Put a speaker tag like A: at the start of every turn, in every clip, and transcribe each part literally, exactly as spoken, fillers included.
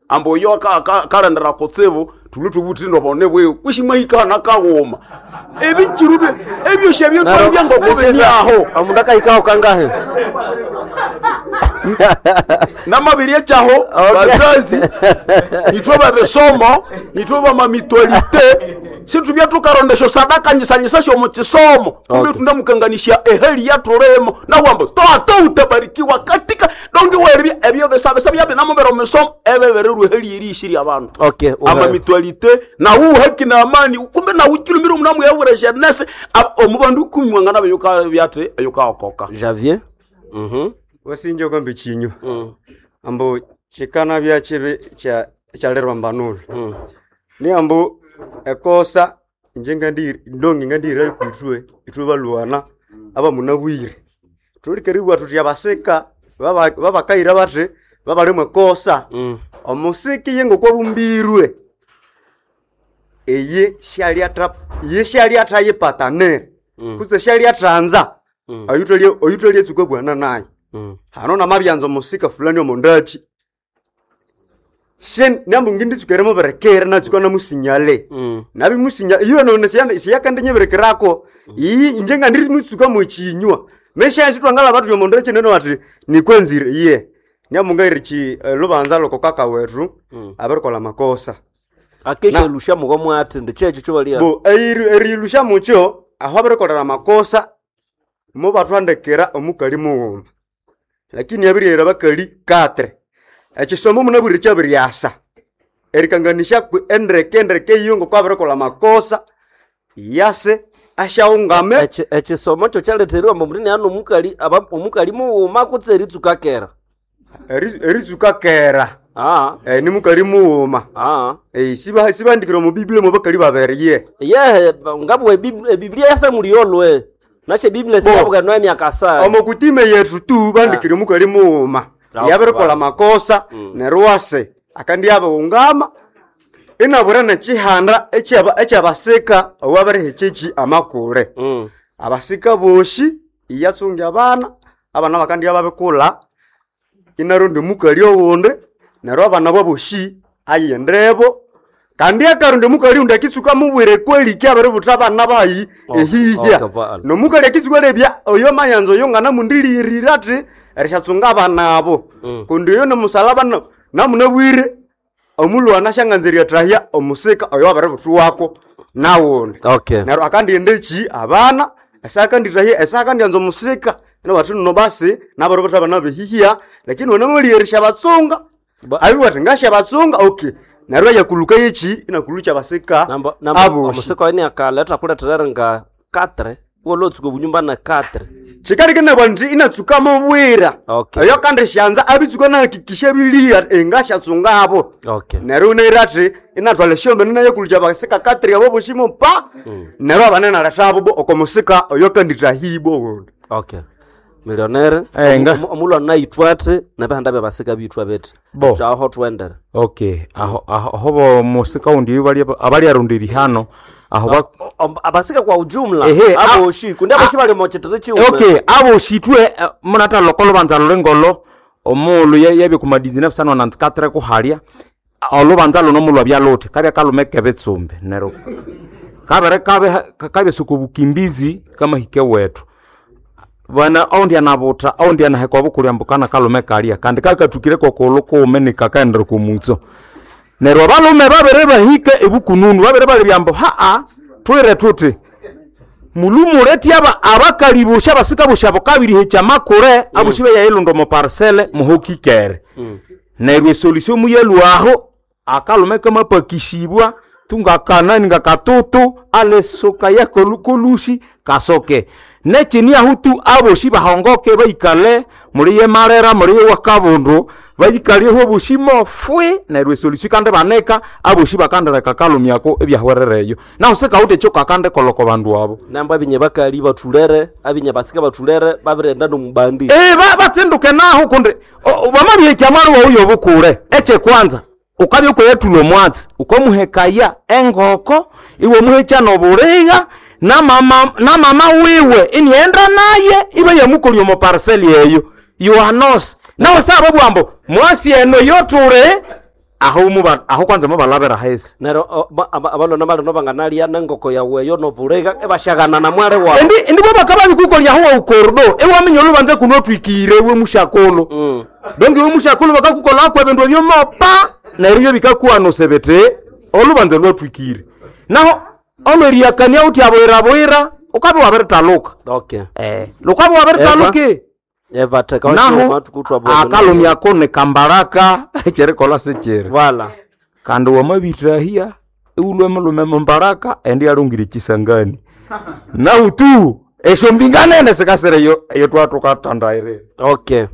A: Ambo oyo akarendera kutsibu tuli tubuthi bone bweyo kwishimahikana kagoma ebichiru ebyo shebyo twabya ngokubinyaho
B: omundu akahikaho kangahe
A: namabiri ekyaho bazazi nithwe babisomo nithwe bamamitualite situbya tukarondesha sadaka nyisanyisa syomu kisomo kumbe tunamukanganisya ehali yatulimo nawamba toto utabarikiwa katika donge weribya ebyo bisabisa byabinamubera omusomo ebebererwa ehali eriyisirya abandu
B: okay
A: ama mitualite nawu haki na amani kumbe nawu kilumira omunamu yabura jeunesse omu bandu ikumi mwangana beyuka byate eyukaokoka
B: Javier mhm
C: wasinja okambe chinyo ambo chikana bya chibi cha chalerwa mbanulu ni ambo ekosa inje ngandi ndongi ngandira ikutwe itwe balwana aba munabwire tulikeribwa tuti abasika baba babakaira bati babalimwe ekosa omusiki ye ngokwabumbirwe eye shalyatra ye shalyatra yipatanire kutse shalyatranza oyutolye oyutolye tsukwe bwana naye hano namabyanza omusika fulani omondachi shen nambu nginditsukere muberekere natsuka namusinyale nabimusinya iyo none siyakandi nyeberekerako iyi inje ngandiri mutsuka muchinywa mesha twangala batu yomondachi neno ati nikwenzire iye nyamungaire chi eh, lubanza loko kaka wetu abarikola makosa
B: akesha
C: Na-
B: elusha muko mwati ndi checho chobalia
C: bo erilusha mucho aho abarikolera makosa mubatwandikira omukali mughuma lakini abirighera bakali katre ekisomo munabwire kyabiryasa erikanganisha kwi endeke endeke iyo ngoko abirikolha makosa yase asyaungame
B: Echi- echisomo kyo kyaleteriwa mbu mutini ano omukali aba- omukali mughuma kutse eritsuka kera
C: eri- eritsuka kera
B: ah
C: Eh, ni mukali mughuma
B: ah
C: Eh, siba- sibandikire omu biblia mwe bakali babiri ye
B: yehe ngabwe ebiblia yasa muliyolwe nashe biblia sikabuka noya myaka sa
C: omo kutime yetu tu bandikire omukali mughuma
B: Ah.
C: yabirikolha makosa neryo wase akandi yabighungama inabura nekihanda ekyaba- ekyabasika owabirihekeki amakule
B: Mm.
C: abasika boshi iyasunga abana abana bakandi babikulha inaronda omukali owundi neryo abana baboshi ayendebo kandi akaronda omukali undi akitsuka mubwire kweliki abiributha abana bayi
B: Okay,
C: ehihya
B: okay, vala.
C: nomukali akitsuka lebya oyo mayanza oyo nganamundilirira athi erishatsunga abana abo kundi oyo nomusalaba na- namunabwire omulwana asyanganza eryatahya omusika oyo wabiributhuwako nawundi
B: okay
C: neryo akandighenda eki abana esakandithahya esakandianza omusika inabathi nno basi nabiributha abana behihya lakini wanamalyerisya batsunga
B: Ba-
C: abiwathi ngasya batsunga okay neryo eyakuluka yeki inakulukya basika
B: namba namba
C: aboshi
B: omusika weni akaleta kuletera nga katre wolotsuka obunyumba na katre
C: kikalike nti inatsuka mubwira
B: Okay.
C: eyo kandi syanza abitsuka nahakikisha biliya engashatsunga abo
B: okay
C: neryo unaira athi inathwala esyombene nayakulukya basika katri abo boshimo pa neryo abana nalethabo bo okomusika oyo kandithahibwa owundi
B: okay millionaire
D: Eh, nga-
B: Omu- omulwana naithwa athi nebihanda byabasika bithwa bithi
D: Bo.
B: aho twendere
D: okay aho aho aho bo musika undi bali abali hano aho ba
B: Om- abasika kwa ujumla
D: Ehe, a-
B: aboshi kundi aboshi bali mochitere chiume
D: okay aboshitwe eh, munatha loko lubanza lulengolo omulu ye- yebye kuma mil neuf cent nonante-quatre kuhalya olubanza luno mulwa byaluthi kabya kalume kebitsumbi neryo kabere kabe kabya obukimbizi kamahike wethu bana oundi anabutha oundi anaheka obukulya mbu kana kalume kalya kandi kakathukire kokulu kuume nikakaendera komutso neryo abalume babere bahika ebukununu babere balebya mbu haa twire thuthi mulumuleti aba abakali bosha abasika bosha bukabirihekya makure aboshi beyayilunda omu parcele muhokikere neryo esolution muyalwaho akalume kamapakisibwa tungakanani ngakatutu alesoka yakolushi kasoke nechini ahu tu aboshi bahongoke baikale muli yemalera muli yewakabundu baikaleho oboshi mofwi neryo esolution kandi baneka aboshi bakandireka kalumyako ebyahwerereyo nahu sikawuthe ekyo kakandi koloko bandu abo
B: namba abinye bakali bathulere abinye basika bathulere babirenda nomubandi
D: Eh, ba- batsinduke naho kundi bamabihekya mwari wawu yobukule eche kwanza ukabya ukoyethula omwatsi ukamuhekaya engoko iwe muhekya nobuligha namama namama wiwe inienda naye ibe yamukolya omu parcel eyo yohanos nawe saba bwambo mwasi eno yotule Aho muba aho kwanza mubalabira hesi.
B: Nero o- ba- aba- abalona balino banganalya nengoko yawe eyo nobulega ebashagana na mwale wawe.
D: Endi endi bo bakaba bikukolya aho ukordo ewaminya olubanza kuno twikire we mushakolo.
B: Mm.
D: Donge we mushakolo bakakukola akwa ebindu ebyo mopa neryo bikakuwa sebete olubanza lwatwikire. Naho olweriakania uti aboira boira ukabe wabiritaluka.
B: Okay.
D: Eh, lukabe wabiritaluke.
B: Eva teka
D: Naho akalumyako ne kambaraka cherikola sechere.
B: Voilà.
D: Kandi wamabirahia iulwe mulume mumbaraka endi alungire chisangani. Nahu tu esho mbinganene sikasire yo eyo twatukatandaire.
B: Okay.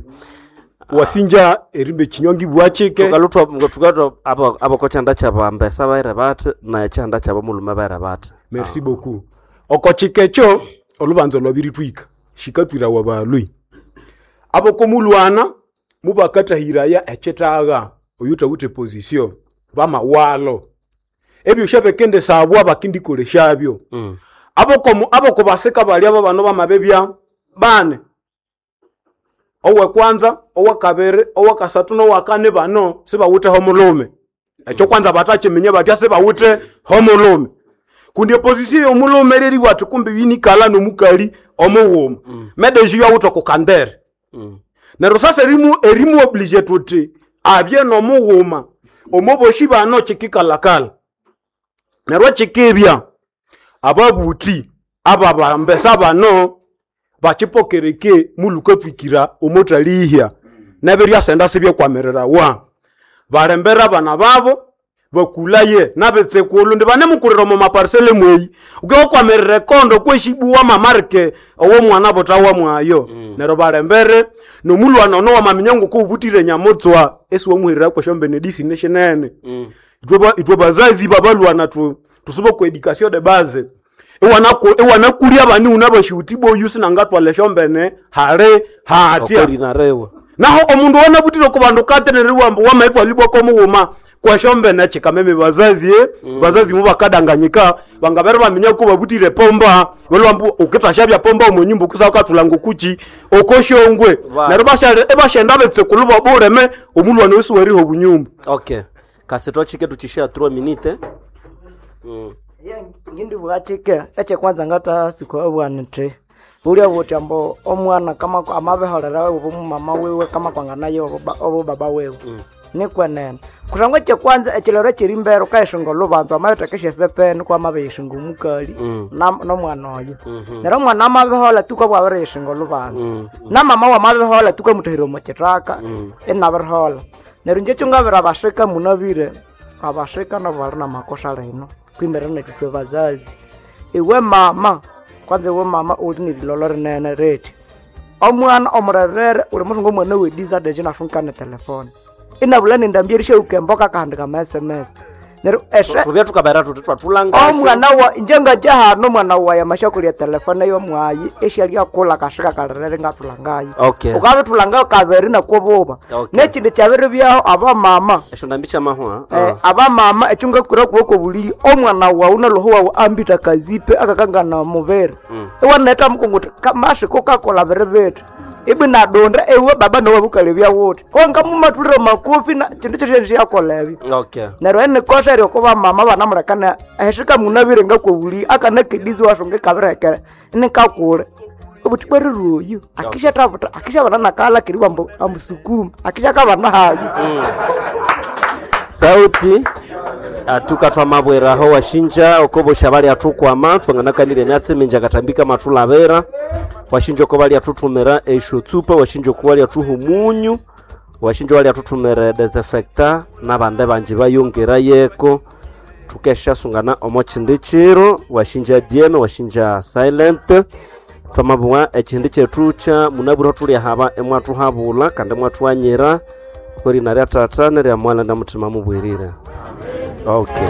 A: Wasinja erimbe chinyongi bwachike.
B: Tukalutwa tukalutwa abo abo kochanda chabambesa baire bati na chanda chabo mulume baire bati.
A: Merci beaucoup. Okochikecho olubanza lwabiritwika shikatwira wabalwi. Abo komulwana mubakatahiraya echetaga oyuta ute position bamawalo. Ebyo shabekende sabwa bakindikoleshabyo. Mm. Abo komu abo kobaseka bali abo bano bamabebya bane. Owe kwanza, owe kabere, owe kasatu nowa kane bano sibawute homulume. Ekyo kwanza batachiminya batya sibawute homulume. Kundi opposition yomulume reri watu kumbi binikala nomukali omuwuma. Mm. Medeji yawuta kukandere. Mm. Nero sasa erimu erimu oblige tuti abye nomuwuma. Omoboshi bano chikikalakala. Nero chikibya ababuti ababambesa bano bachipokereke muluka fikira omotalihya neberya senda sibye kwamerera wa balembera bana babo bakulaye nabetsekulu ndi banemukurira mu maparsele mweyi uke kondo kweshibuwa mamarke owo mwana botawa mwayo mm. Nero balembere nomulwana ono wamaminya nguko ubutire nyamutswa esi wamuhirira kweshombe nedisi neshinene mm. Itwe itwe bazazi babalwana tu tusuba ku education de base ewana kulia bani unabashuti boyu sinangatwale shombene hale hatia
B: Okori narewa.
A: Naho omundu wanabutire ku bandu katenererwa mbu wamaitwa libwa ko muwuma kwashombene chikameme bazazi eh mm. Bazazi mubakadanganyika bangabere baminya ko babutire pomba balwa mbu ukitashabya pomba omunyumba kusaka tulango kuchi okoshongwe nero bashale ebashenda betse kuluba bureme omulwana wese weriho bunyumba.
B: Okay. Kasitwa chike tuchishia three minute. Mm.
E: Ngindi bwachike eche kwanza ngata siku bwana nti bulia buti ambo omwana kama amabeholera obo mama wewe kama kwanganayo obo baba wewe mm. Nikwenene kusangwa eche kwanza echilero chiri mbere ukaishinga olubanza amabetekesha sepeni kwa amabeyishinga omukali mm. nomwana oyo mm -hmm. Nero omwana amabehola tuka bwabiriyishinga olubanza mm. Na mama wamabehola tuka mutahira omuchitaka mm. Inabirihola nero inje kyungabira abashika munabire abashika nabo bali namakosa lino kwimbere nethu bazazi iwe mama kwanza iwe mama uli nililolo rinene reti omwana omurerere uli musungu omwana wedisadeje nafunkane telefone inabula nendambia erishauka kandi kama S M S neryo eshe
B: Tubya tukabera tuti twatulanga
E: omwana wa inje ngajahano omwana wayi amashakulya telefone yomwayi eshalyakula kashika kalirere ngathulangayo.
B: Okay.
E: Ukabithulangayo kabiri nakobuba.
B: Okay.
E: Nekindi kyabiri byaho abamama
B: esho ndambi chamahwa.
E: Eh, abamama ekyo ngakura kuboko buliyo omwana wawu naloho wawu ambita kazipe akakangana mubiri mm. Iwaneta mukunguti kamashiko kakola biri bithi ibi nadonda ewe baba nowe bukalebya wuthi ongamumathulire makofi na kindu kyosyo syakola ebyo.
B: Okay.
E: Neryo enikosa eryo kuba mama banamurekana ehishika munabire ngakobuli akanakedisi washonga ikabirekere nikakule obuthi bweriroyo akisha tabuta akisha bana nakala kiri ambu amusukuma akisha kabana hayo.
B: Mm. Sauti atuka twamabweraho washinja okobosha bali atukwama twanganakanire myatsi minji akatambika matulabera washinja oko bali atutumira esho tsupa washinja oko bali atuha omunyu washinja bali atutumira desinfecta nabande banji bayongera yeko tukeshasungana omo chindi chiro washinja D M washinja silent twamabwa ekindi chetu cha munabura tuli haba emwatuhabula kandi emwatuanyira kwerina rya tata nerya mwana na mutima mubwirire. Okay.